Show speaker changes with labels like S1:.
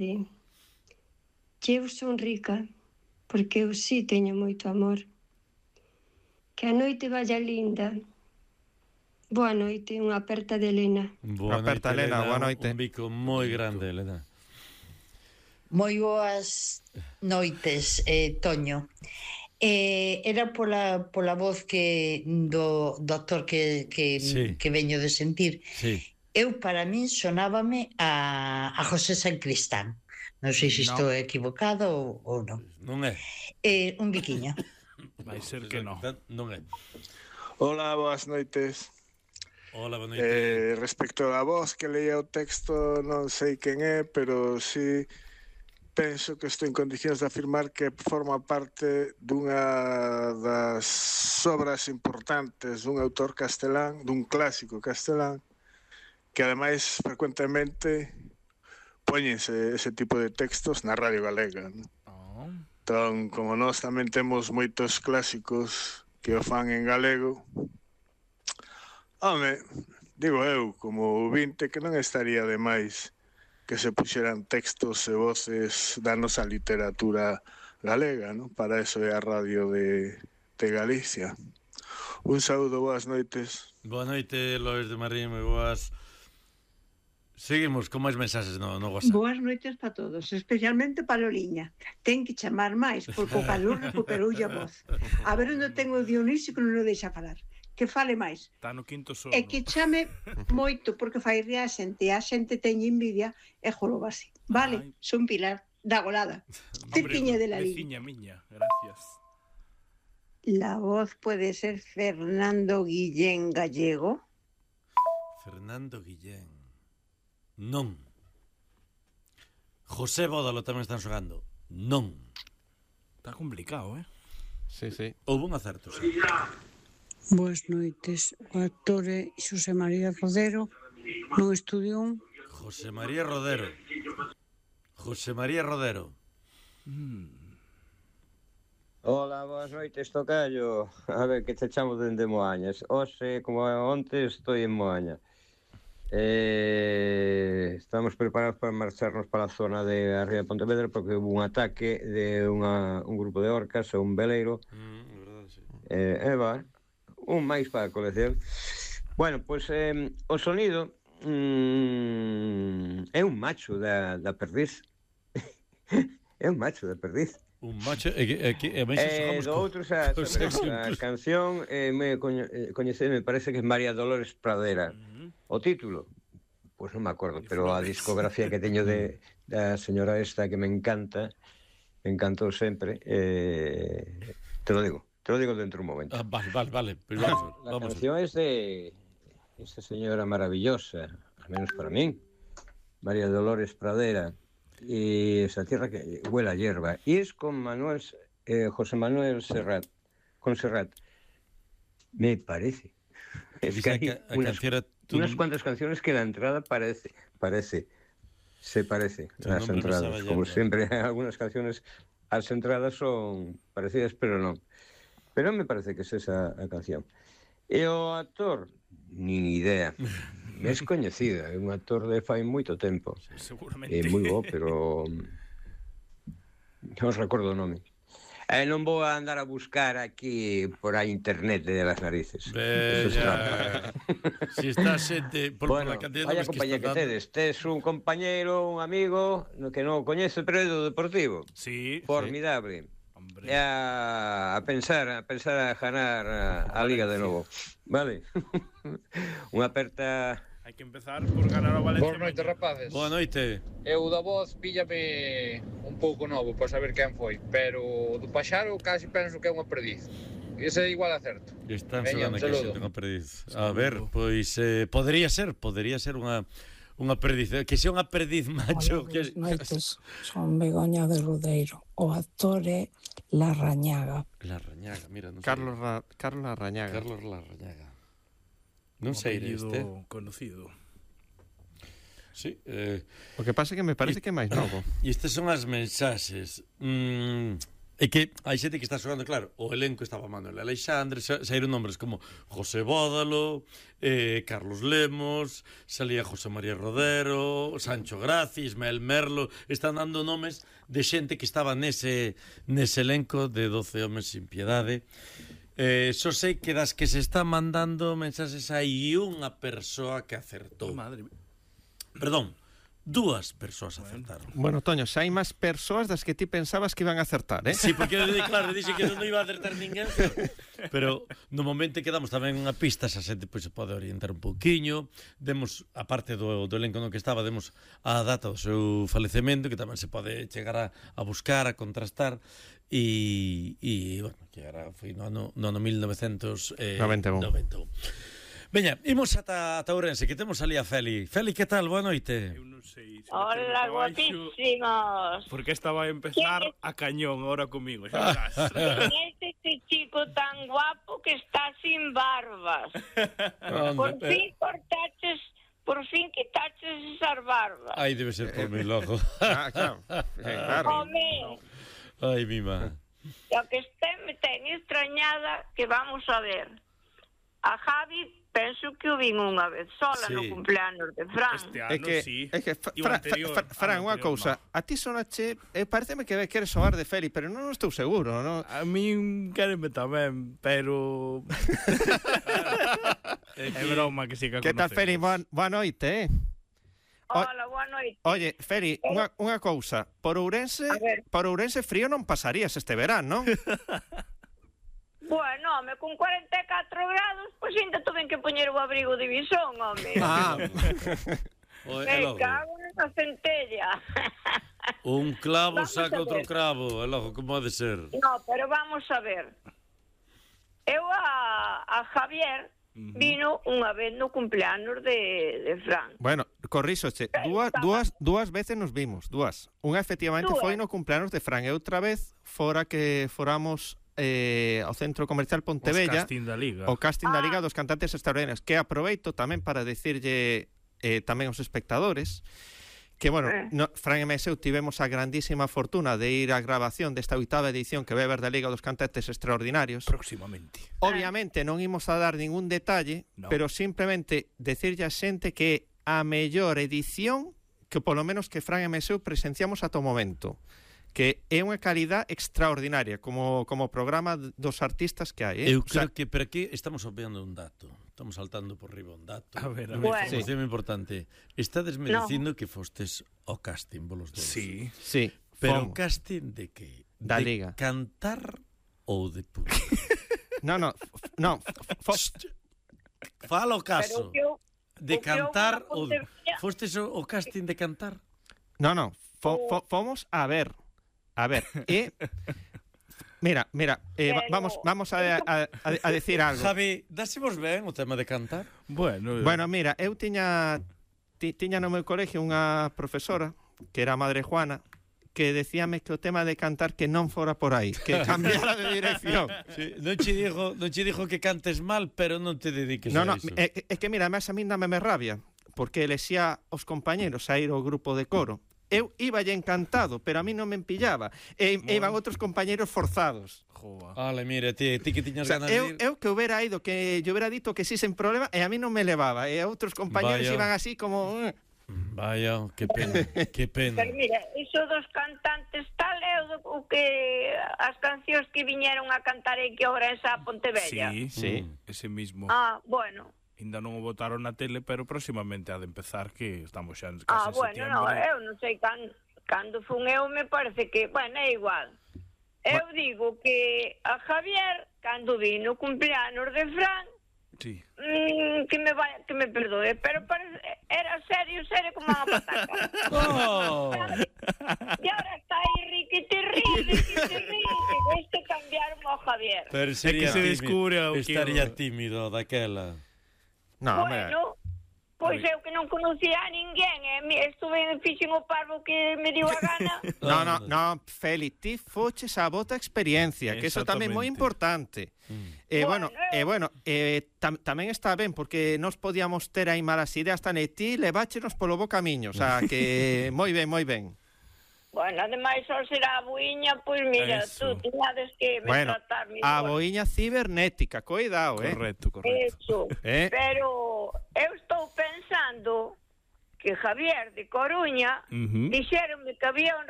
S1: Sí. Que eu son rica, porque eu sí teño moito amor. Que a noite vaya linda. Boa noite, unha aperta de Elena.
S2: Boa noite, Elena.
S3: Boa noite.
S2: Un bico moi grande, Elena.
S4: Moi boas noites, Toño. Era pola voz que do actor
S2: Sí.
S4: que veño de sentir.
S2: Sí.
S4: Eu, para min, sonábame a José Sancristán. Non sei se estou equivocado ou non.
S2: Non é.
S4: Un biquiño.
S5: Vai ser que non.
S2: Non é.
S6: Hola, boas noites.
S2: Hola, boa noite.
S6: Respecto á voz que leía o texto, non sei quen é, pero sí penso que estou en condicións de afirmar que forma parte dunha das obras importantes dun autor castelán, dun clásico castelán, que ademais frecuentemente póñense ese tipo de textos na Radio Galega, ¿no? Entón, como nós tamén temos moitos clásicos que o fan en galego, home, digo eu, como ouvinte, que non estaría de máis que se puxeran textos e voces da nosa literatura galega, ¿no? Para eso é a radio de Galicia. Un saúdo, boas noites.
S2: Boa noite, Lois de Marín, moi boas. Seguimos con máis mensaxes no WhatsApp.
S7: Boas noites para todos, especialmente para Loliña. Ten que chamar máis, porque o calor recuperoulle a voz. A ver onde ten o Dionisio que non o deixa falar. Que fale máis.
S5: Está no quinto sono.
S7: E que chame moito, porque fai rir a xente teñe envidia e jorobase. Vale, son Pilar, da Golada. Cirpiña de la
S5: Veciña miña, gracias.
S7: La voz puede ser Fernando Guillén Gallego.
S2: Fernando Guillén. Non. José Bódalo tamén están xogando. Non.
S5: Está complicado,
S3: Sí, sí.
S2: Houve un acerto, sí.
S8: Boas noites. O actor é Xosé María Rodero, non estudiou.
S2: José María Rodero. José María Rodero.
S9: Hola, boas noites, tocayo. A ver, que te chamo dende Moañas. Hoxe, como onte, estou en Moaña. Estamos preparados para marcharnos para a zona de Arriba de Pontevedra porque houve un ataque de un grupo de orcas a un veleiro.
S2: Verdade, sí.
S9: Un máis para a colección. Bueno, pois o sonido é un macho da perdiz. É un macho da perdiz.
S2: Un macho e máis xogamos
S9: do outro xa a canción me coñecei, me parece que é María Dolores Pradera. O título, pois non me acordo, pero a discografía que teño da señora esta que me encantou sempre, te lo digo dentro un momento.
S2: Vale. Pero
S9: la canción es de esta señora maravillosa, al menos para mí, María Dolores Pradera, y esa tierra que huele a hierba, y es con José Manuel Serrat, me parece. Es que hay unas cuantas canciones que la entrada se parece las entradas, como siempre algunas canciones las entradas son parecidas pero non, pero me parece que es esa a canción. E o actor nin idea, é descoñecido, é un actor de fai moito tempo,
S5: seguramente
S9: é moi bo, pero non recordo o nome. Non vou a andar a buscar aquí por a internet de las narices.
S2: Bella. Si está xente por
S9: bueno,
S2: la cantidad
S9: vaya
S2: de
S9: compañía que tedes. Tes un compañeiro, un amigo que non o coñece, pero é do Deportivo.
S5: Sí.
S9: Formidable.
S5: Hombre.
S9: A pensar a ganar a Liga de novo. Vale. Unha aperta.
S5: Hai que empezar por ganar o Valencia.
S10: Boa noite, rapaces.
S2: Boa noite.
S10: Eu da voz píllame un pouco novo para saber quen foi, pero do Paxaro casi penso que é unha perdiz. Ese é igual a certo.
S2: Están xogando aquí xente unha perdiz. A ver, pois podría ser unha perdiz, que sea unha perdiz macho.
S8: Hola, que noites, son Begoña de Rodeiro. O actor é Larrañaga.
S2: Larrañaga, mira, non sei.
S3: Carlos Larrañaga.
S2: Carlos Larrañaga. Non sei este.
S5: Conocido.
S2: Sí,
S3: o que pasa é que me parece que é máis novo.
S2: E estas son as mensaxes. É que hai xente que está xogando, claro, o elenco estaba Manuel Aleixandre, saíron nombres como José Bódalo, Carlos Lemos, salía José María Rodero, Sancho Gracia, Ismael Merlo, están dando nomes de xente que estaba nese elenco de 12 homes sin piedade. Só sei que das que se están mandando mensaxes hai unha persoa que acertou.
S5: Madre mía.
S2: Perdón, 2 persoas acertaron.
S3: Bueno, Toño, xa hai máis persoas das que ti pensabas que iban a acertar, eh?
S2: Sí, porque claro, dixen que non iba a acertar ninguén, pero no momento que damos tamén unha pista, esa xente pois se pode orientar un pouquiño. Demos, a parte do elenco no que estaba, demos a data do seu falecemento, que tamén se pode chegar a buscar, a contrastar, e bueno, que era foi no ano 1991. Veña, imos ata Ourense, que temos ali a Feli. Feli, que tal? Boa noite.
S5: Eu non sei.
S11: Hola, guapísimos.
S5: Porque estaba a empezar a cañón ahora comigo, xa verás.
S11: Este chico tan guapo que está sin barbas. Por fin quitaches esas barbas.
S2: Ai, debe ser por mi logo.
S3: Claro.
S11: Home.
S2: Ai, mima.
S11: Lo que me ten extrañada que vamos a ver. A Javi penso que o vin unha vez sola no cumpleaños de Fran.
S5: Este ano,
S3: é que Fran, unha cousa, a ti sonache, pareceme que queres soar de Feli, pero non estou seguro, non?
S5: A min quéreme tamén, pero é broma que sí que
S3: que tal, Feli? Boa noite,
S11: Hola, boa noite.
S3: Oye, Feli, unha cousa, por Ourense frío non pasarías este verán, non?
S11: Bueno, home, con 44 grados, pois ainda tuven que poñer o abrigo de visón, home. Me cago nesa centella.
S2: Un clavo saca outro cravo, logo, como ha de ser?
S11: No, pero vamos a ver. Eu a Javier vino unha vez no cumpleaños de Fran.
S3: Bueno, corríxoche, dúas veces nos vimos, dúas. Unha efectivamente foi no cumpleaños de Fran e outra vez fora que foramos ao Centro Comercial Pontevella, o casting da Liga dos Cantantes Extraordinarios, que aproveito tamén para decirlle tamén aos espectadores que, bueno, Fran e eu tivemos a grandísima fortuna de ir á grabación desta 8ª edición que vai haber da Liga dos Cantantes Extraordinarios.
S5: Próximamente.
S3: Obviamente non imos a dar ningún detalle, pero simplemente decirlle a xente que a mellor edición que polo menos que Fran e eu presenciamos ata o momento, que é unha calidad extraordinaria como programa dos artistas que hai,
S2: Eu creo que por aquí estamos obviando un dato. Estamos saltando por riba un dato.
S5: A ver.
S2: Unha información importante. Estades me dicindo que fostes ao casting volos dos.
S3: Sí.
S2: Pero o casting de que?
S3: Da Liga.
S2: Cantar ou de público?
S3: No.
S2: Fala o caso. De cantar ou fostes o casting de cantar?
S3: No. Fomos a ver, mira, vamos a decir algo.
S2: Javi, dásemos ben o tema de cantar?
S3: Bueno, mira, eu tiña no meu colegio unha profesora que era a Madre Juana, que decíame que o tema de cantar que non fora por aí, que cambiara de dirección.
S2: Sí, non che dijo que cantes mal, pero non te dediques a iso.
S3: É que mira, además a mí dámeme rabia, porque elexía os compañeros a ir ao grupo de coro. Eu íballe encantado, pero a mí non me empillaba. E iban outros compañeros forzados.
S2: Ale, mira, ti que tiñas ganas de ir.
S3: Eu que houbera ido, que yo hubiera dito que sí sen problema, e a mí non me levaba. E outros compañeros iban así como...
S2: Vaya, que pena, que pena.
S11: Pero mira, iso dos cantantes tal é o que as cancións que viñeron a cantar aquí ahora esa Pontevella.
S5: Sí, ese mismo.
S11: Bueno.
S5: Ainda non o botaron na tele, pero próximamente ha de empezar, que estamos xa casi en
S11: septiembre. Eu non sei cando fun eu, me parece que, bueno, é igual. Eu digo que a Javier, cando vino o cumpleaños de Fran, que me perdoe, pero era serio como unha pataca. E ahora está aí riquete ríe, este cambiaron ao Javier.
S2: Pero sería estaría tímido daquela.
S3: No,
S11: bueno, pois eu que non conocía a ninguén, estuve fixen o parvo que me dio a gana.
S3: No, Feli, ti foches a bota experiencia, que eso tamén é moi importante. Tamén está ben, porque nos podíamos ter aí malas ideas, tan e ti leváchenos polo bo camiño, o sea, que moi ben.
S11: Bueno, ademais, só será a boiña, pois mira, tú tiñades que me tratar mellor.
S3: A boiña cibernética, coidado,
S5: Correcto.
S11: Eso, pero eu estou pensando que Javier de Coruña dixeronme que había un